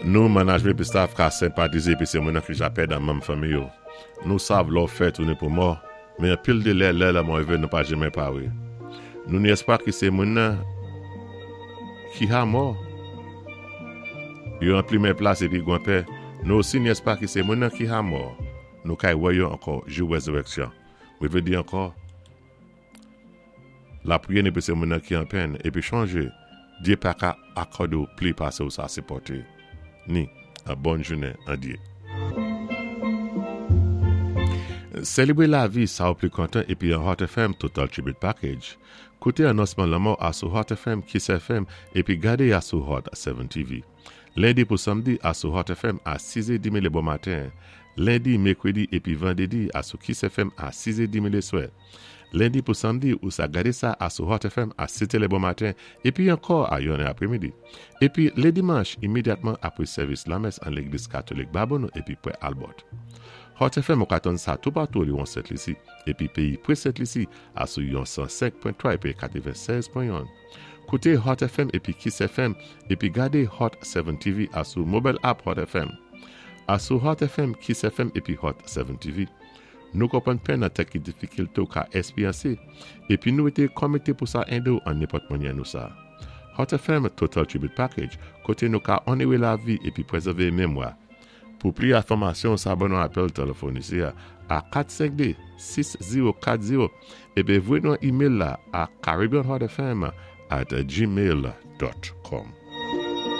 Nou, manajmen épi staff ka senpatizé épi sé moun-nan ki ja pèd an manm fanmi yo. Nou sav lò fè tounen pou mò, men anpil de lè, lè lanmò rivé nou pa jenmen paré. Nou ni èspwa ki sé moun-nan ki ha mò yo an plimen plas épi gwan pè. Nou osi ni èspwa ki sé moun-nan ki ha mò nou kay wè yo ankò jou wèzirèksyon. Mwen vlé di ankò, Lapriyè ni pou se moun-nan ki an pèn, épi chonjé, Dyé pa ka akòdé ou pli pasé ou sa sipòté. Ni, an bòn jounen an Dyé. Selebré lavi sa ou pli kontan épi an Hot FM Total Tribute Package. Kouté anonsman lanmò a sou Hot FM, Kiss FM, épi gadé a sou Hot 7 TV. Lendi pou samdi a sou Hot FM a 6 è demi le bon maten. Lendi, mekredi épi vandédi a sou Kiss FM a 6 è demi le swè. Lendi pou samdi ou sa gade sa a sou Hot FM a 7 è le bon maten épi ankò a 1 è apremidi. Épi le dimanch imedyatman apwé sèvis lamès an légliz katolik Babonneau épi pwè Albert. Hot FM ou ka tann sa toupatou oliwon Sent Lisi épi peyi pre Sent Lisi a sou yon 105.3 épi 96.1. Koute Hot FM épi Kiss FM épi gade Hot 7 TV a sou mobile app Hot FM. A sou Hot FM, Kiss FM épi Hot 7 TV. Nou konpwann pèn an tèt ki difikilté ou ka èspéryansé, épi nou été konmité pou sa édé ou an nenpòt mannyè nou sa. Hot FM Total Tribute Package, koté nou ka onoré lavi épi pwèzèvé memwa. Pou pli enfòmasyon sa ban nou apèl tèlèfòn isi a a 452 6040 épi voyé nou an email la a caribbeanhotfm@gmail.com.